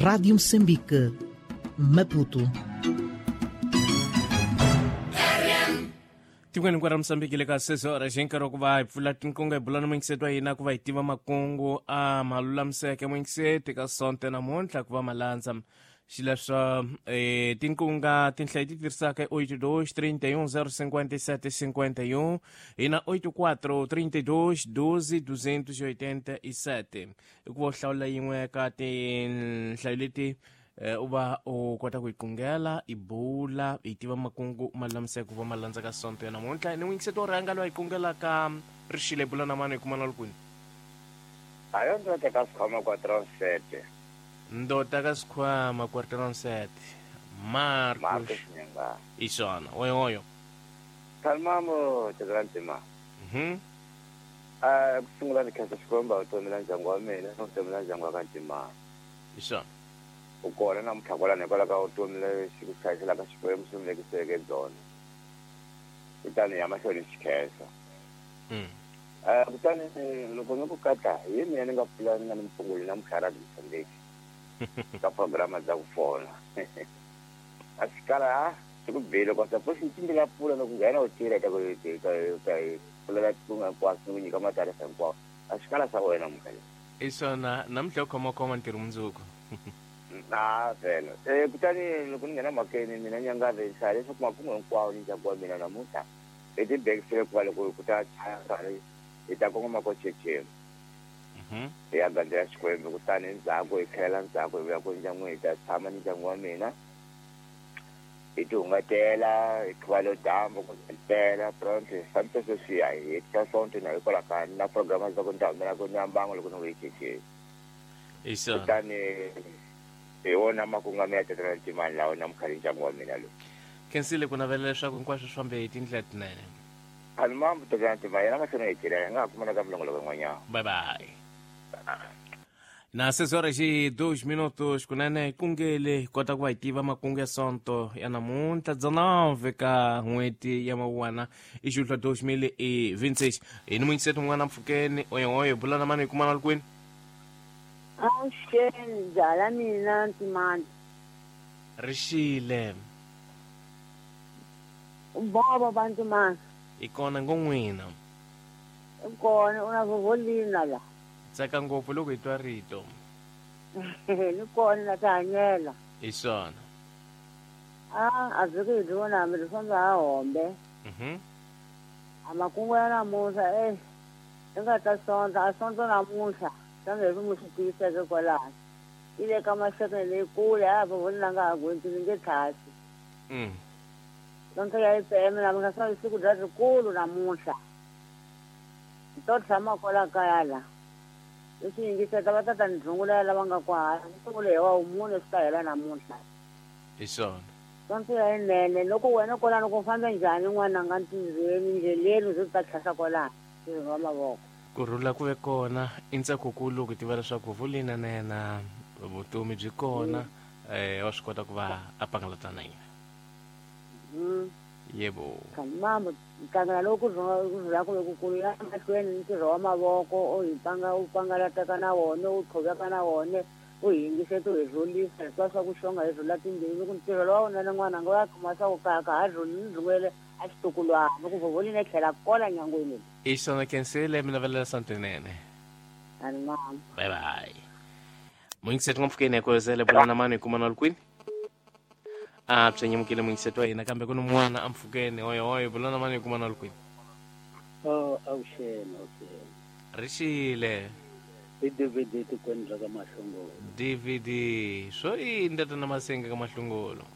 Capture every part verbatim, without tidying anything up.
Rádio Moçambique, Maputo. Tikweni hinkwaro ra Mozambique le ka seis horas hi nkarhi wa ku va hi pfula tinkunga hi bula na muyingiseti wa hina ku va hi tiva makungu a ma lulamiseke muyingiseti ka sonto namuntlha ku va ma landza xileswo eh, tinkunga tinhlayo ti tirhisaka i oito dois trinta e um zero cinquenta e sete cinquenta e um e na oito quatro trinta e dois doze duzentos e oitenta e sete i ku va u hlawula yin'we ka tinhlayo leti u va u kota ku yi qungela i bula i tiva makungu ma lulamiseke ku va ma landza ka sonto ya namuntlha ni n'wingiseti wo rhanga loyi a yi qungelaka rixile bula na mani hi kuma na lukwini ayo ndota ka sikhwama quarteron sete ndota ka sikhwama quarteron sete Marcos Marcos Nyanga i swona oyo oyo Kalmamo tezantima mhm eh ku sungula ni khensa Xikwembu vutomi la ndyangu wa mina na vutomi la ndyangu wa ka Ntima i swona u kona namuntlha kwalano hikwalaho ka vutomi lexi ku hlayiselaka Xikwembu xi mi vekiseke byona kutani ya mahlweni xi khensa mm eh kutani loko ni ku katla hi mina ni nga pfula ni nga ni mpfunguli namuntlha Radio Mozambique ka programa dza ku fona a swi kala a swi ku bile kwa suppose ni timbila pfula loko nghena u tirha ka ka ka pfulela tikunga hinkwaswo ni ku nyika matarisa hinkwawo a swi kala swa wena namuntlha i swona namuntlha u khomakhoma ntirho mundzuku na vhele eh kutani loko ni nghena mhakeni mina Nyangave ni hlaya leswaku makungu hinkwawo ni ndyangu wa mina namuntlha hi tibekisile ku va loko ku ta chaya nkarhi hi ta kongoma ko checheni mhm hi ya gandzela Xikwembu kutani endzhaku hi tlhela ndzhaku hi vuya ku ndyangwini hi ta tshama ni ndyangu wa mina hi ti hungatela hi qhuva lo dyambu ku tela pronto hi fambisa sweswiya hi hetisa sonto na hikwalaho ka na programa za ku ni ta humela ku ni ya mbangu loko ni vuye checheni i swona kutani hi wona makungu ya mina tatana Ntimani lawa namuntlha ni ndyangu wa mina lowu khensile ku navela leswaku hinkwaswo swi fambe hi tindlela tinene Kalmamo tatana Ntimani yena mahlweni hi tirha hi nga ha kumana ka milongoloko yin'wanyana bye bye na seis horas e dois minutos kunene kungele hi kota ku va hi tiva makungu ya sonto ya namuntlha dezenove ka n'hweti ya mawuwana i xihluhla dois mil e vinte e seis hi ni muyingiseti un'wana mpfhukeni oyo oyo bula na mani hi kumana kwini Avuxeni byala mina Ntimani rixile bobo va Ntimani hi kona ngo n'wina i kona u na vovolina la tsaka ngopfu loko hi twa rito ni kona na tihanyela hi swona a a vhiki hi byi vona hambi byi famba ha hombe mhm a makungu ya namuntlha e i nga ta sonta a sonto namuntlha kambe hi mi swi tiviseke kwalano yi le ka maxekeni leyikulu a vovolina nga ha gwenti ni nge tlhasi mm sonto ya I P M namuntlha swa siku bya rikulu namuntlha to tshama kwala kaya la leswi yingiseta va ta ta ni rhungulela lava nga kwahala ni sungule hi wa mune swi ta hela namuntlha hi swona sonto ya yinene loko wena kwalano ku fambe njhani n'wananga ntirhweni ndleleni u ze u ta tlhasa kwalano ntirhweni wa mavoko ku rhula ku ve kona i ntsakokulu loko tiva leswaku vulina na yena vutomi byi kona eh wa swi kota ku va a pangalata na yena Mm. yebo Kalmamo nhlangano lowu ku rhula ku ve kukulu ya mahlweni ntirho wa mavoko u hi panga u pangalataka na wona u qhuveka na wona u hi yingiseta u hi rhulisa hi twa swa ku xonga hi rhula timbilu ku ntirho lowa wunene n'wananga u ya kuma swa ku kaya ka ha rhuli ni rhungulele a xitukulwana ku vovolini tlhela kola nyangweni i swona khensile mi navelela santinene Kalmamo bye bye muyingiseti n'wampfhukeni ya kozele bula na mani hi kuma na lukwini a byi nyimukile muyingiseti wa hina kambe ku ni n'wana ampfhukeni oyo oyo bula na mani hi kuma na lukwini Oh, avuxeni avuxeni rixile i D V D tikweni ra ka Mahlongolo D V D swo yini tata na masenga ka Mahlongolo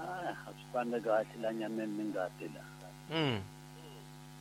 a swi fambi kahle la nyameni ni ngati la mm